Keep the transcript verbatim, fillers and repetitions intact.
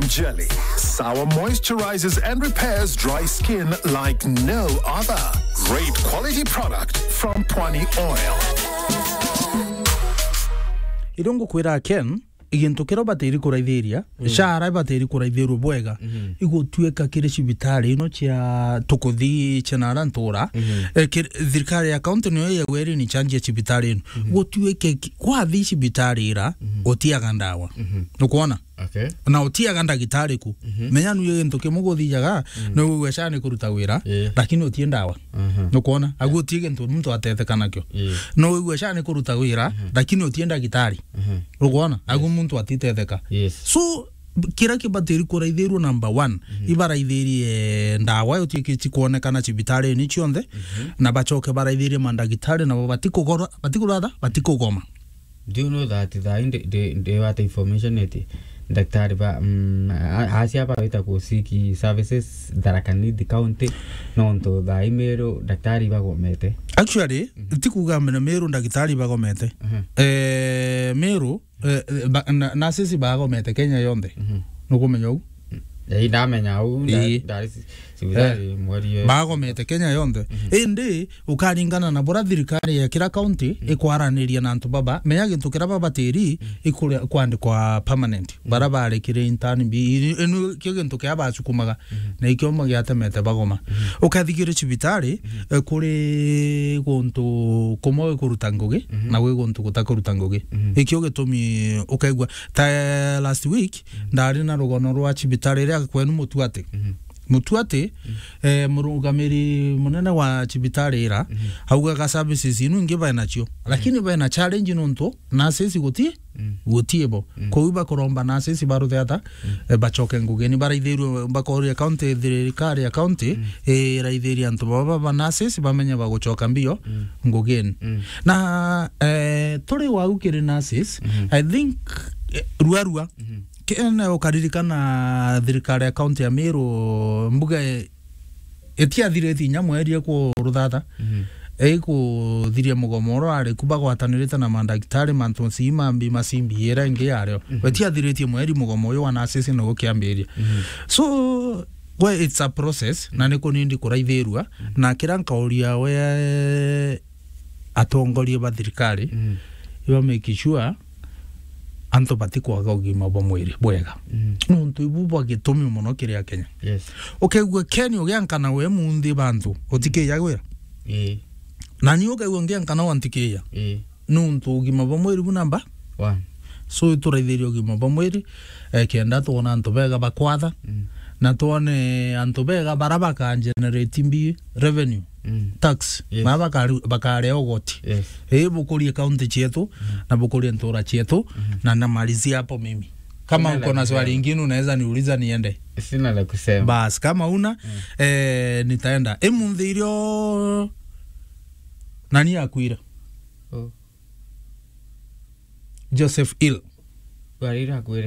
Jelly. Sour moisturizes and repairs dry skin like no other. Great quality product from Pwani Oil. Irio ngukwira, Ken, gintu kiria batiri kuraithiria, mm, shara batiri kuraithirwa bwega, mm-hmm, igutuika kiri cibitari ino cia tukuthi cia nara ntura, mm-hmm, eh, kir-, thirikari ya county niyo yegweri ni change ya cibitari ino. Mm-hmm. Gutuike ki-, kwathi cibitari ira, mm-hmm, utiaga ndawa. Mm-hmm. Nukwona? Okay. Na utiaga ndagitari ku. Mhm. Menya nu gintu kimwe guthijaga, mm, no wigwe sha ni kuruta wira, yeah, lakini utie ndawa. Mhm. Nukwona? Agu utie gintu muntu atetheka nakio. Yeah. No wigwe sha ni kuruta wira, mhm, lakini utie ndagitari. Mhm. Nukwona? Agu, yes, muntu atitetheka. Yes. So, kira kibatiri kuraithirwa number one, mhm, ibaraithirie ndawa utie kici kuonekana cibitari ni cionthe, mhm, na bacoke baraithirie mandagitari nabo batikugora, batikuratha, batikugoma. Do you know that thaa ii ndi, ndi, ndi wata information eti daktari ba, mm, a-, acia bawita ku seek services Tharaka Nithi County, nontu thaa ii Meru daktari bagomete? Actually, mhm, ti kuuga mena Meru ndagitari bagomete. Mhm. Eh, Meru, eh, eh, ba-, na, nurses bagomete Kenya yonthe. Mhm. Nukumenya uu? Ei, ndamenya uu, nda-, ii, ndari ci-, cibitari, ii, mweri uyu. Bagomete Kenya yonthe. Mhm. Indi, ukaringana na bura thirikari ya kira county, mm, ikwaraniria na antu baba, menya gintu kira babatiri, mm, ikuria-, kwandikwa permanent. Mm. Bara barekire intern bi, inu kio gintu kia basukumaga, mm, na ikio mo giatemete bagoma. Mm. Ukathikire cibitari, mm, eh, kuri guntu kumwe kuruta ngugi, mm, na gwi guntu gutakuruta ngugi. Mm. Ikio gitumi ukaigua, ta last week, mm, ndari na rugono rwa cibitari ria kwenu Mutuati. Mm. Mutuati, mm, eh, murugamiri munene wa cibitari ira, mhm, augaga services inu ingi bae nacio. Lakini, mm, bae na challenge nontu nurses guti, mm, guti bo. Mm. Kou bakuromba nurses baruthe ata, mm, eh, bacoke ngugini, baraithirwe, bakoria county, thirikari ya county, mm, eh, iraithirie antu baba ba nurses bamenye bagucoka mbio, mm, ngugini. Mm. Na, eh, turi wau kiri nurses, mhm, I think, eh, rua rua, mhm. Kene ukaririkana thirikari ya kaunti ya Meru, mbuga i-, itiathiritie inya mweri ikuruthatha. Mhm. Ikuthiria mugomo uria wari ku bagwatanirite na mandagitari, mantu cii mambi macimbi ira ingi yario. Mhm. Itiathiritie mweri mugomo uyu wa nurses nigu kiambiria. Mhm. So, we, it's a process, na niku nindi kuraithirua, mhm, na kira nkauria we atongoria ba thirikari, mhm, iba make sure antu batikwaga ugima bwa mwiri bwega. Mm. Nontu ibu bwa gitumi mono kiri Akenya. Yes. Ukaigua Ken ugiankana we munthi bantu, utikiya gwira? Ii. Na ni ukaigua ngiankana wantikiya. Ii. Nontu ugima bwa mwiri bu namba? One. So, ituraithirie ugima bwa mwiri, eh, kenda twona antu bega bakwatha, mm, na twone antu bega bara baka generate mbi revenue. Mm. Tax. Yes. Mara bakari-, bakaria ugoti. Yes. Ii, bukurie county cietu, mm, na bukurie ntura cietu, mm, na namalizia hapo mimi. Kama uko na swali ingine unaweza niuliza niende. Sina la kusema. Bas, kama una, mm, eh, nitaenda. Imunthi irio nani akuire? Oh. Joseph Hill. Barira akwire.